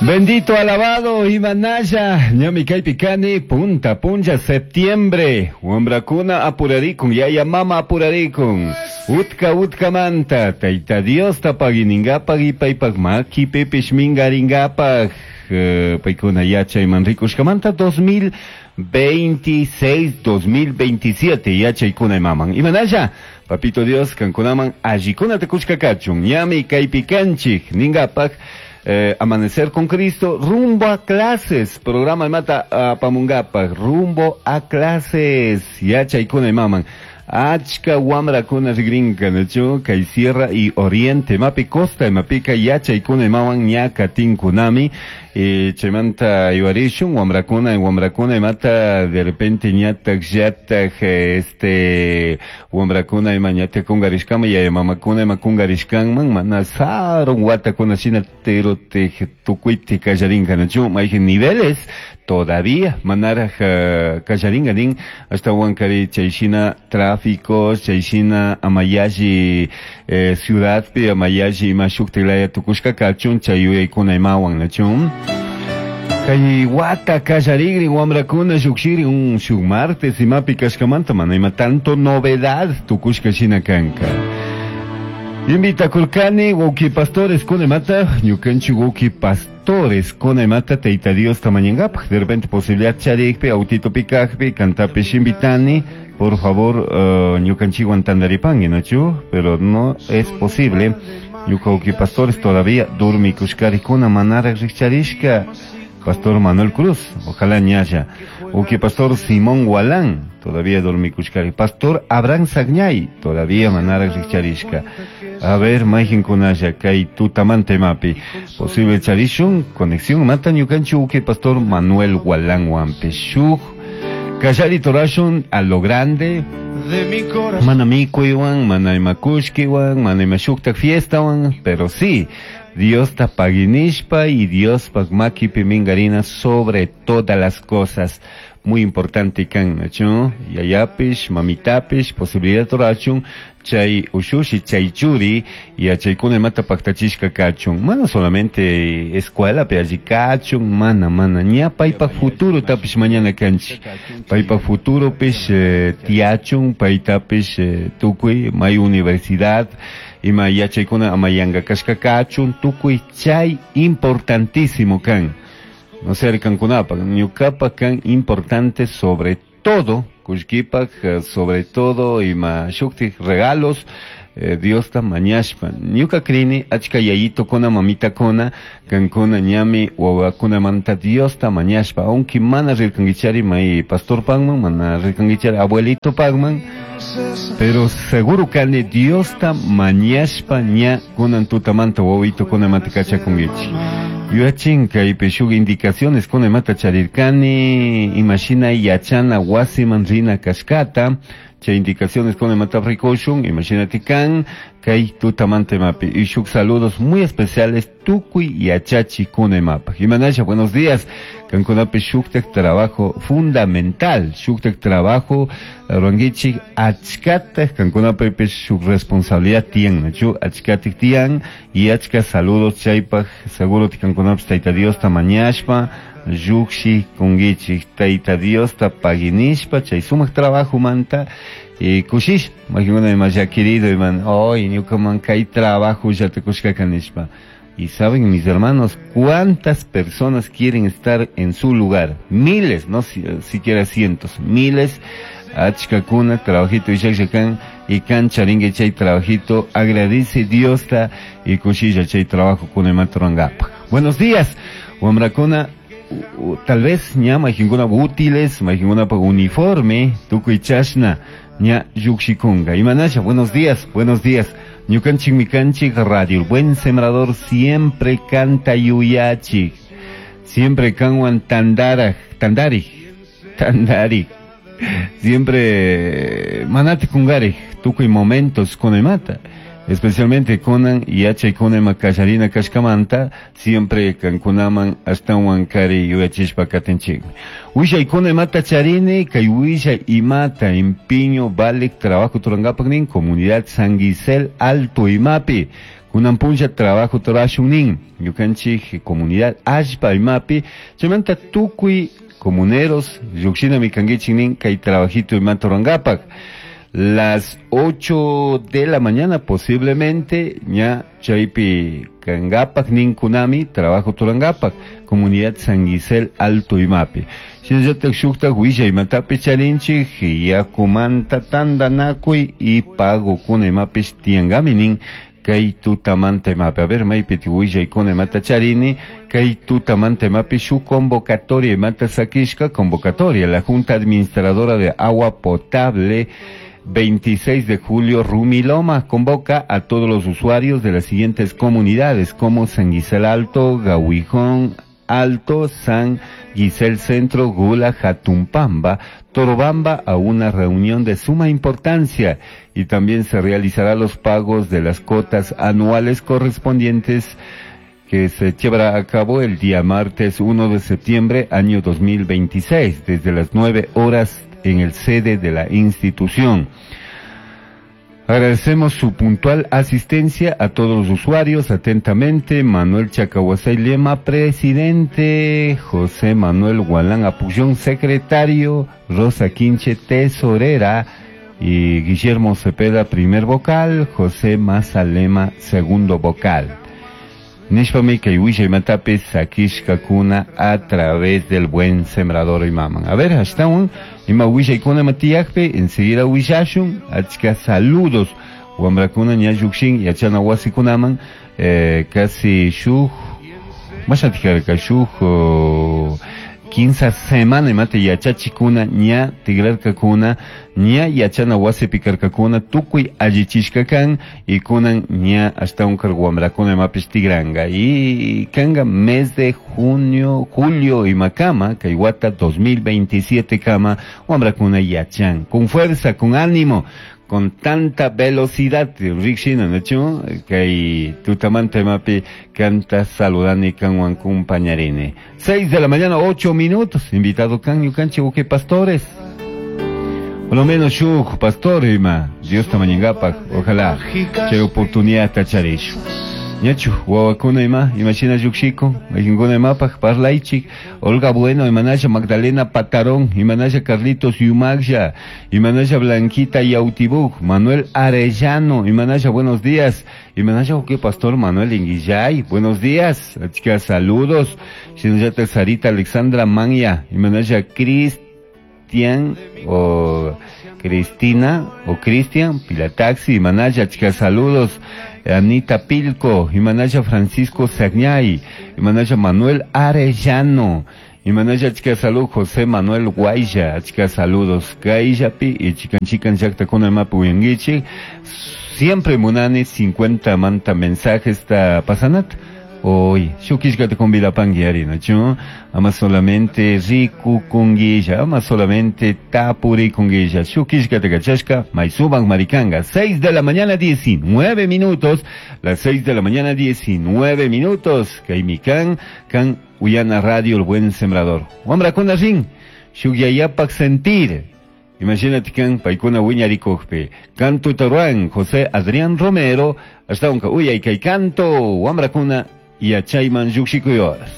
Bendito, alabado Imanaya, ñami kaypi kani, punta punlla septiembre, wambrakuna apurarikun, yaya mama apurarikun, utka utkamanta, Tayta Diosta paginingapak y paypak makipipish mingaringapak, paykuna yachayman rikushkamanta 2026, 2027 yachaykuna imaman. Imanaya, Papito Dios, kankunaman allikunata kushka kachun, ñami kaypi kanchik, ningapak, Amanecer con Cristo, rumbo a clases, programa mata apamungapak, rumbo a clases, yachaykuna imaman. Achka wamrakuna rigrinka, nachu, kay Sierra y Oriente, mapi Costa, mapika yachaykuna imawan ña katinkunami, chaymanta yuarishun, wamrakuna, wamrakuna imata de repente ñatak, llatak, wamrakuna ima ñatak kungarishkama, yaya mamakuna ima kungarishkanman, mana sarun watakuna shina tero te tukuyti kallarinka, nachu, mayjin niveles todavía manaraj kallarinka nin, hasta wankari chayshina tráfico, chayshina amayalli ciudadpi, amayalli ima shuktilaya tukushka kachun, chay yuyaykuna imawan, nachu. Kay wata kallarigrin wamrakuna llukshiri un shuk martes imapi kashkamanta, mana ima tanto novedad tukushka shina kanka. Invita kulkani wauki pastores kuna imata, ñukanchik wauki pastores kuna imata Tayta Dios tamañangapak, de repente posibilidad charikpi, autito pikakpi, kantapish invitani, por favor, ñukanchikwan tandaripangi, ¿no, chu? Pero no es posible. Ñuka wauki pastores todavía durmikushkarikuna manara rikcharishka. Pastor Manuel Cruz, ojalá ñaya. Uki Pastor Simón Gualán, todavía dormikushkari. Pastor Abraham Sagñay, todavía manara rikcharishka. A ver, mayjin kunaya, kay tutamante mapi. Posible charishun, conexión mata ñukanchu uki Pastor Manuel Gualán wampi. Shuk, kallari torashun a lo grande. De mi corazón. Mana mikuiwan, mana imakushkiwan, mana imashuktak fiestawan, pero sí, Dios ta paginishpa y Dios pagmakipi mingarina sobre todas las cosas. Muy importante kan, nachu, yayapish, mamitapish, posibilidad torachun, chay ushushi, chay churi, y a chay kuna mata paktachishka kachun. Mana solamente escuela, pe allí kachun, mana, mana, ña paypa futuro tapish mañana kanchi. Paypa futuro pish, tiachun, paytapish, tukuy, may universidad, ima yachaykuna amayanga kashka kachun, tukuy chay importantísimo kan. No sé, kankunapa, ñukapa kan importante sobre todo, kushkipak, sobre todo, ima shuktik regalos, Dios ta mañashpa. Ñuka krini, achka yayito kona, mamita kona, kankuna ñami, wawakuna manta Dios ta mañashpa. Aunque mana rirkangichari may pastor pagman, mana rirkangichari abuelito pagman, pero seguro kani Dios ta mañashpa ña kunan tutamanta wawito kona manta kachakungichi. Yuachin kaypi shuk indicaciones kuna imata charirkani, imashina yachana wasiman rina kashkata, chay indicaciones kuna imata rikushun, imagínate kan, kay tutamanta imapi. Y shuk saludos muy especiales tukuy yachachi kuna imapa. Imanasha, buenos días. Kankunapi shuktak trabajo fundamental, shuktak trabajo ruanguichi achkatak, kankunapi shuk responsabilidad tian, nachu achkatik tian, y achka saludos chaypak, seguro ti kankunapi Tayta Dios ta mañashpa, yukshi kunguichi, Tayta Dios ta paginishpa, chay sumak trabajo manta, y kushish, majinguna ima ya querido, iman, oy, ñukaman kay trabajo ya te kushka kanishpa. Y saben, mis hermanos, cuántas personas quieren estar en su lugar. Miles, no siquiera cientos, miles. Achkakuna, trabajito y shakshakán, y cancharingue chay trabajito, agradece Dios ta y kushilla chay trabajo con el matrangapa. Buenos días, wamrakuna, tal vez ña majinguna útiles, majinguna pa uniforme, tukuy chashna, ña yukshikunga. Imanasha, buenos días, buenos días. Ñukanchik mikanchik radio, el buen sembrador siempre canta yuyachi, siempre kanwan tandara, tandari, tandari, siempre manati kungari, tukuy momentos kunemata, especialmente kunan yachay kunema kasharina kashkamanta, siempre kankunaman ashtawan kari yuyachishpa katinchikmi. Wishay kunemata charini, kay wishay imata empiño vale trabajo turangapaknin, comunidad San Gisel Alto Imapi. Kunan punlla trabajo rurashun nin ñukanchik comunidad allpa imapi chaymanta tukuy comuneros llukshinami kankichik nin kay trabajito imata rurankapak. Las 8 de la mañana posiblemente ña chaypi kankapak ninkunami trabajo turankapak comunidad San Gisel Alto imapi. Shinallatak shuktak willay imatapi charinchik yakumanta tantanakuy y pagokuna imapish tiyankami nin kay tutamanta imapi. A ver, maypi willaykuna imata charini kay tutamanta imapi shuk convocatoria imata sakishka convocatoria la Junta Administradora de Agua Potable 26 de julio, Rumiloma convoca a todos los usuarios de las siguientes comunidades como San Gisel Alto, Gahuijón Alto, San Gisel Centro, Gula, Jatumpamba, Torobamba a una reunión de suma importancia y también se realizará los pagos de las cuotas anuales correspondientes que se llevará a cabo el día martes 1 de septiembre año 2026 desde las 9 horas en el sede de la institución. Agradecemos su puntual asistencia a todos los usuarios. Atentamente, Manuel Chacahuasay Lema, presidente, José Manuel Gualán Apullón, secretario, Rosa Quinche, tesorera, y Guillermo Cepeda, primer vocal, José Maza Lema, segundo vocal. Nishpami kay willay matapi sakishkakuna a través del buen sembrador imaman. A ver, ashtawan ima willaykuna matiyakpi enseguida willashun achka saludos wamrakuna ña llukshin yachana wasikunaman casi shuk mashatikarka shuk 15 semana imata yachachikuna ña tigrarkakuna ña yachana wasipi karkakuna tukuy allichishka kan y kunan ña ashtawan kar wamrakuna imapish tigranka y kanga mes de junio, julio imakama kay wata 2027 kama wamrakuna yachan con fuerza, con ánimo, con tanta velocidad, rikshina, ¿no? Kay tutamanta imapi canta saludani kanwan compañarine. 6 de la mañana, 8 minutos. Invitado kan ñukanchik uke pastores. Por lo menos shuk pastor ima. Dios tamañingapak. Ojalá chay oportunidad tacharishu. Ñachu, wawakuna ima, imashina llukshikun, mayqinkuna imapaq parlaychik, Olga Bueno, imanasha Magdalena Patarón, imanasha Carlitos Yumagsha, imanasha Blanquita Yautibuk, Manuel Arellano, imanasha buenos días, imanasha uke pastor Manuel Inguillay, buenos días, achka saludos, shinallata Sarita Alexandra Manya, imanasha Cristian o Cristina o Cristian Pilataxi, imanasha achka saludos, Anita Pilco, imanasha Francisco Sagñay, imanasha Manuel Arellano, imanasha achka salud José Manuel Guaya, achka saludos, Kaillapi y chican chican llaqtakuna imapi uyankichik, siempre munani 50 manta mensajes ta pasanat. Hoy, shukishkata convidapanki ari, ¿no? Ama solamente rikukunguilla, ama solamente tapurikunguilla. Shukishkata kachashka, maysuman maricanga. 6 de la mañana, 19 minutos. Las 6 de la mañana, 19 minutos. Kaimikan, kan Uyana Radio, el buen sembrador. Wamrakuna rin, shukyayapak sentir. Imagínate kan paykuna wiñarikukpi. Canto taruan, José Adrián Romero, hasta un uyay kay canto, wamrakuna yachayman lluqshikuy horas.